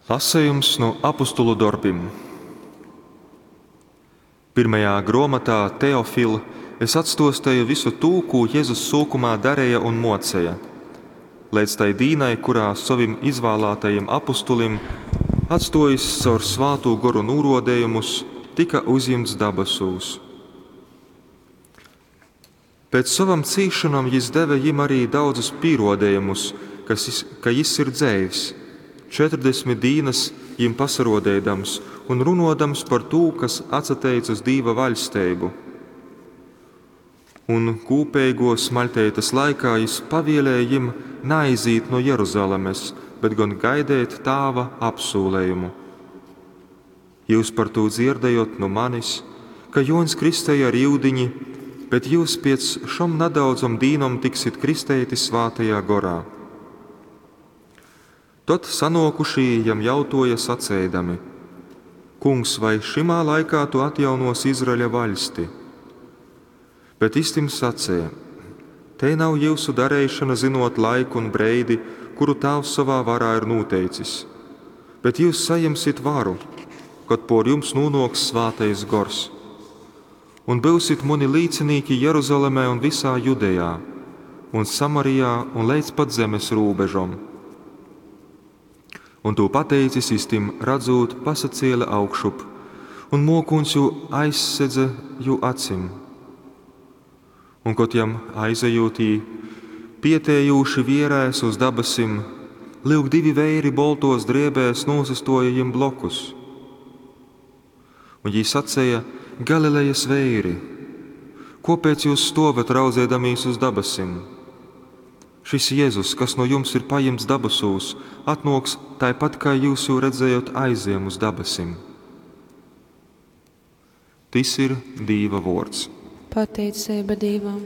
Lasejums nu Apostolu dorbim. Pyrmajā grōmotā, Teofil, es atstōsteju vysu tū, kū Jezus sōkumā dareja un mōceja, leidz tai dīnai, kurā, sovim izvālātajim apostolim atstōjis caur Svātū Goru nūrōdejumus, tyka uzjimts dabasūs. Pēc sovom cīsšonom jys deve jim arī daudzus pīrōdejumus, ka jys ir dzeivs, 40 dīnas jim pasarōdeidams un runōdams par tū, kas atsateic uz Dīva vaļsteibu. Un kūpeigōs maļteites laikā jys pavēlēja jim naizīt nu Jeruzalemes, bet gon gaideit Tāva apsūlejumu. Jyus par tū dzierdējot nu manis, ka Jōņs kristeja ar yudiņi, bet jyus piec šom nadaudzom dīnom tiksit kristeiti Svātajā Gorā. Tod sanōkušī jam jautōja saceidami, Kungs, vai šymā laikā tu atjaunōsi Izraeļa vaļsti? Bet jys tim saceja, Tei nav jyusu dareišona zynōt laiku un breidi, kuru Tāvs sovā varā ir nūteicis. Bet jyus sajimsit varu, kod pōr jums nūnōks Svātais Gors. Un byusit muni līcinīki Jeruzalemē un vysā Judejā, un Samarijā un leidz pat zemes rūbežom. Un tū pateicis, jys tim radzūt pasacēle augšup, un mōkūņs jū aizsedze jū acim. Un kod jam aizejūt, jī pietejūši vierēs uz dabasim, lyuk, divi veiri boltōs drēbēs nūsastōja jim blokus. Un jī saceja, Galilejas veiri, kōpēc jyus stōvat raudzeidamīs uz dabasim? Šys Jezus, kas nu jums ir pajimts dabasūs, atnōks taipat, kai jyus jū redzējot aizejam uz dabasim. Tys ir Dīva vōrds. Pateiceiba Dīvam.